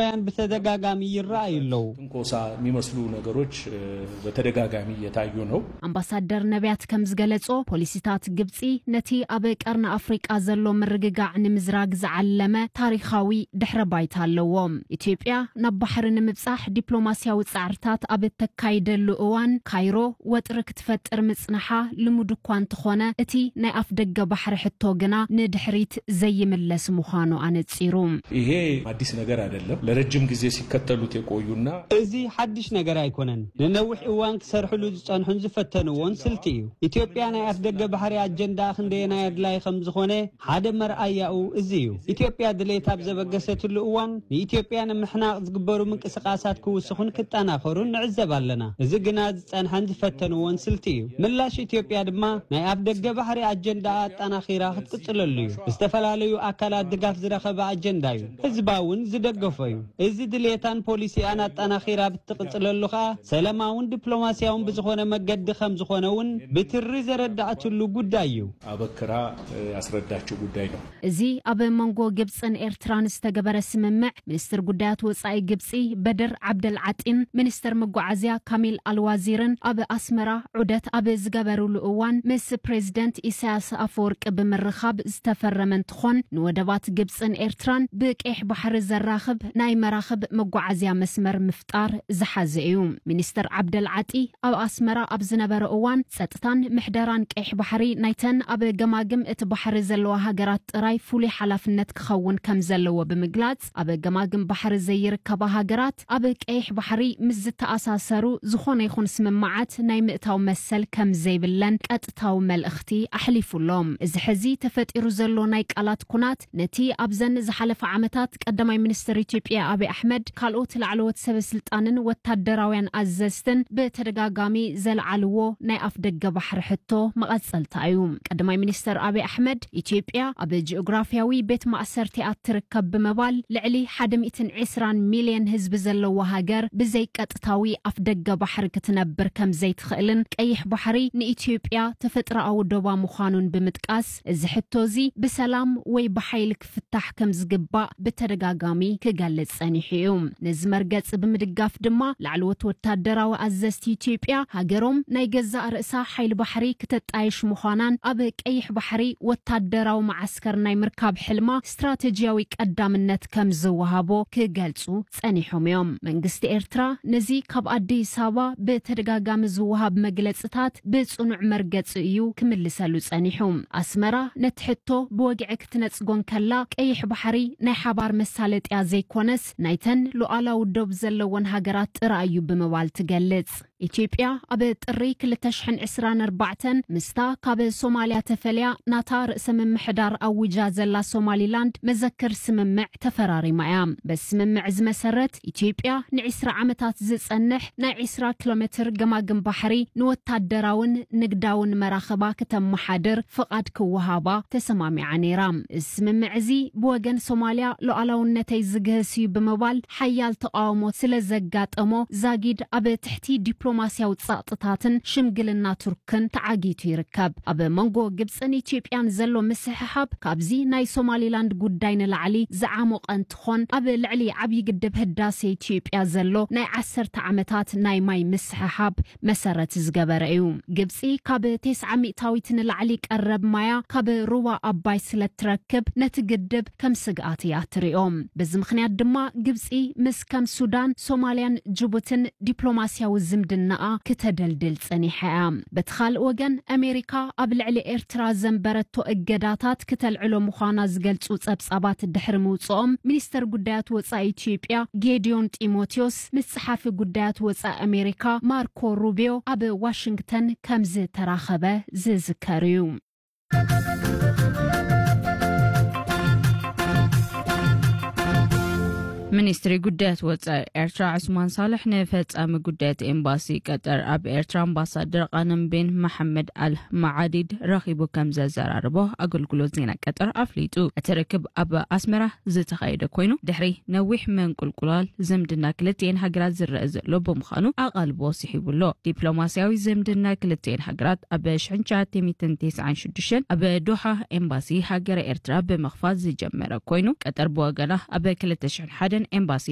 ያን ብተደጋጋሚ ይረኣዩ ኣለዉ። ትንኮሳ የሚመስሉ ነገሮች በተደጋጋሚ እየታዩ ነው። ኣምባሳደር ነቢያት ከም ዝገለጾ፣ ፖሊሲታት ግብጺ ነቲ ኣብ ቀርኒ ኣፍሪቃ ዘሎ ምርግጋዕ ንምዝራግ ዝዓለመ ታሪኻዊ ድሕረ ባይታ ኣለዎም። ኢትዮጵያ ናብ ባሕሪ ንምብጻሕ ዲፕሎማስያዊ ጻዕርታት ኣብ እተካይደሉ እዋን፣ ካይሮ ወጥሪ ክትፈጥር ምጽንሓ ልሙድ እኳ እንተኾነ፣ እቲ ናይ ኣፍ ደገ ባሕሪ ሕቶ ግና ንድሕሪት ዘይምለስ ምዃኑ ኣነጺሩ። ይሄ አዲስ ነገር አይደለም። ለረጅም ጊዜ ሲከተሉት የቆዩና እዚ ሓድሽ ነገር ኣይኮነን። ንነዊሕ እዋን ክሰርሕሉ ዝጸንሑን ዝፈተንዎን ስልቲ እዩ። ኢትዮጵያ ናይ ኣፍ ደገ ባሕሪ ኣጀንዳ ክንደየናይ ኣድላይ ከም ዝኾነ ሓደ መርኣያኡ እዚ እዩ። ኢትዮጵያ ድሌት ኣብ ዘበገሰትሉ እዋን ንኢትዮጵያ ንምሕናቕ ዝግበሩ ምንቅስቓሳት ክውስኹን ክጠናኸሩን ንዕዘብ ኣለና። እዚ ግና ዝጸንሐን ዝፈተንዎን ስልቲ እዩ። ምላሽ ኢትዮጵያ ድማ ናይ ኣፍ ደገ ባሕሪ ኣጀንዳ ኣጠናኺራ ክትቅጽለሉ እዩ። ዝተፈላለዩ ኣካላት ድጋፍ ዝረኸበ ኣጀንዳ እዩ። ህዝባ እውን ዝደገፎ እዩ። እዚ ድሌታን ፖሊሲኣን ኣጠናኺራ ብትቕጽለሉ ኸኣ ሰላማውን ዲፕሎማስያውን ብዝኾነ መገዲ ከም ዝኾነ እውን ብትሪ ዘረዳእትሉ ጉዳይ እዩ። አበክራ ያስረዳችው ጉዳይ ነው። እዚ ኣብ መንጎ ግብጽን ኤርትራን ዝተገበረ ስምምዕ፣ ሚኒስትር ጉዳያት ወጻኢ ግብጺ በድር ዓብደል ዓጢን ሚኒስትር መጓዓዝያ ካሚል ኣልዋዚርን ኣብ ኣስመራ ዑደት ኣብ ዝገበሩሉ እዋን ምስ ፕሬዚደንት ኢሳያስ ኣፈወርቂ ብምርኻብ ዝተፈረመ እንትኾን፣ ንወደባት ግብጽን ኤርትራን ብቀይሕ ባሕሪ ዘራኽብ ናይ መራኽብ መጓዓዝያ መስመር ምፍጣር ዝሓዘ እዩ። ሚኒስትር ዓብደል ዓጢ ኣብ ኣስመራ ኣብ ዝነበረ እዋን፣ ጸጥታን ምሕደራን ቀይሕ ባሕሪ ናይተን ኣብ ገማግም እቲ ባሕሪ ዘለዋ ሃገራት ጥራይ ፍሉይ ሓላፍነት ክኸውን ከም ዘለዎ ብምግላጽ፣ ኣብ ገማግም ባሕሪ ዘይርከባ ሃገራት ኣብ ቀይሕ ባሕሪ ምስ ዝተኣሳሰሩ ዝኾነ ይኹን ስምምዓት ናይ ምእታው መሰል ከም ዘይብለን ቀጥታዊ መልእኽቲ ኣሕሊፉሎም። እዚ ሕዚ ተፈጢሩ ዘሎ ናይ ቃላት ኩናት፣ ነቲ ኣብዘን ዝሓለፈ ዓመታት ቀዳማይ ሚኒስትር ኢትዮጵያ ኣቢይ ኣሕመድ፣ ካልኦት ላዕለዎት ሰበ ስልጣንን ወታደራውያን ኣዘዝትን ብተደጋጋሚ ዘልዓልዎ ናይ ኣፍ ደገ ባሕሪ ሕቶ መቐጸልታ እዩ። ቀዳማይ ሚኒስትር ኣቢይ ኣሕመድ፣ ኢትዮጵያ ኣብ ጂኦግራፍያዊ ቤት ማእሰርቲኣ ትርከብ ብምባል፣ ልዕሊ ሓደ ሚእትን ዕስራን ሚልዮን ህዝቢ ዘለዋ ሃገር ብዘይ ቀጥታዊ ኣፍ ደገ ባሕሪ ክትነብር ከም ዘይትኽእልን ቀይሕ ባሕሪ ንኢትዮጵያ ተፈጥሮኣዊ ዶባ ምዃኑን ብምጥቃስ፣ እዚ ሕቶ እዚ ብሰላም ወይ ብሓይሊ ክፍታሕ ከም ዝግባእ ብተደጋጋሚ ክገልጽ ጸኒሑ እዩ። ነዚ መርገጺ ብምድጋፍ ድማ፣ ላዕለዎት ወታደራዊ ኣዘዝቲ ኢትዮጵያ፣ ሃገሮም ናይ ገዛእ ርእሳ ሓይሊ ባሕሪ ክተጣየሽ ምዃናን ኣብ ቀይሕ ባሕሪ ወታደራዊ መዓስከር ናይ ምርካብ ሕልማ ስትራተጂያዊ ቀዳምነት ከም ዝወሃቦ ክገልጹ ጸኒሖም እዮም። መንግስቲ ኤርትራ ነዚ ካብ ኣዲስ ኣበባ ብተደጋጋሚ ዝወሃብ መግለጽታት ብጽኑዕ መርገጺ እዩ ክምልሰሉ ጸኒሑ። ኣስመራ ነቲ ሕቶ ብወግዒ ክትነጽጎ እንከላ፣ ቀይሕ ባሕሪ ናይ ሓባር መሳለጥያ ዘይኮነስ፣ ናይተን ሉዓላዊ ዶብ ዘለወን ሃገራት ጥራይ እዩ ብምባል ትገልጽ። ኢትዮጵያ ኣብ ጥሪ ክልተ ሽሕን ዕስራን ኣርባዕተን ምስታ ካብ ሶማልያ ተፈልያ ናታ ርእሰ ምምሕዳር ኣዊጃ ዘላ ሶማሊላንድ መዘክር ስምምዕ ተፈራሪማ እያ። በዚ ስምምዕ እዚ መሰረት፣ ኢትዮጵያ ንዕስራ ዓመታት ዝጸንሕ ናይ ዕስራ ኪሎ ሜትር ገማግም ባሕሪ ንወታደራውን ንግዳውን መራኽባ ክተመሓድር ፍቓድ ክወሃባ ተሰማሚዓ ነይራ። እዚ ስምምዕ እዚ ብወገን ሶማልያ ሉዓላውነተይ ዝግህስ እዩ ብምባል ሓያል ተቓውሞ ስለ ዘጋጠሞ፣ ዛጊድ ኣብ ትሕቲ ዲፕሎማስያዊ ጸቕጥታትን ሽምግልና ቱርክን ተዓጊቱ ይርከብ። ኣብ መንጎ ግብጽን ኢትዮጵያን ዘሎ ምስሕሓብ ካብዚ ናይ ሶማሊላንድ ጉዳይ ንላዕሊ ዝዓሞቐ እንትኾን፣ ኣብ ልዕሊ ዓብዪ ግድብ ህዳሴ ኢትዮጵያ ዘሎ ናይ ዓሰርተ ዓመታት ናይ ማይ ምስሕሓብ መሰረት ዝገበረ እዩ። ግብጺ ካብ ተስዓ ሚእታዊት ንላዕሊ ቀረብ ማያ ካብ ሩባ ኣባይ ስለ ትረክብ፣ ነቲ ግድብ ከም ስግኣት እያ ትሪኦ። በዚ ምኽንያት ድማ፣ ግብጺ ምስ ከም ሱዳን፣ ሶማልያን ጅቡትን ዲፕሎማስያዊ ዝምድናኣ ክተደልድል ጸኒሓ እያ። በቲ ካልእ ወገን፣ ኣሜሪካ ኣብ ልዕሊ ኤርትራ ዘንበረቶ እገዳታት ክተልዕሎ ምዃና ዝገልጹ ጸብጻባት ድሕሪ ምውጽኦም፣ ሚኒስተር ጉዳያት ወጻኢ ኢትዮጵያ ጌዲዮን ጢሞቴዎስ ምስ ጸሓፊ ጉዳያት ወጻኢ ኣሜሪካ ማርኮ ሩቢዮ ኣብ ዋሽንግተን ከም ዝተራኸበ ዝዝከር እዩ። ሚኒስትሪ ጉዳያት ወጻኢ ኤርትራ ዑስማን ሳልሕ ንፈጻሚ ጉዳያት ኤምባሲ ቀጠር ኣብ ኤርትራ ኣምባሳደር ቃነምቤን መሓመድ ኣል መዓዲድ ረኺቡ ከም ዘዘራረቦ ኣገልግሎት ዜና ቀጠር ኣፍሊጡ። እቲ ርክብ ኣብ ኣስመራ ዝተኻየደ ኮይኑ፣ ድሕሪ ነዊሕ መንቁልቁላል ዝምድና ክልቲኤን ሃገራት ዝረአ ዘሎ ብምዃኑ ኣቓልቦ ስሒቡ ኣሎ። ዲፕሎማስያዊ ዝምድና ክልቲኤን ሃገራት ኣብ ሽሕን ትሽዓተ ሚእትን ተስዓን ሽዱሽተን ኣብ ዶሓ ኤምባሲ ሃገረ ኤርትራ ብምኽፋት ዝጀመረ ኮይኑ፣ ቀጠር ብወገና ኣብ ክልተ ሽሕን ሓደን ኤምባሲ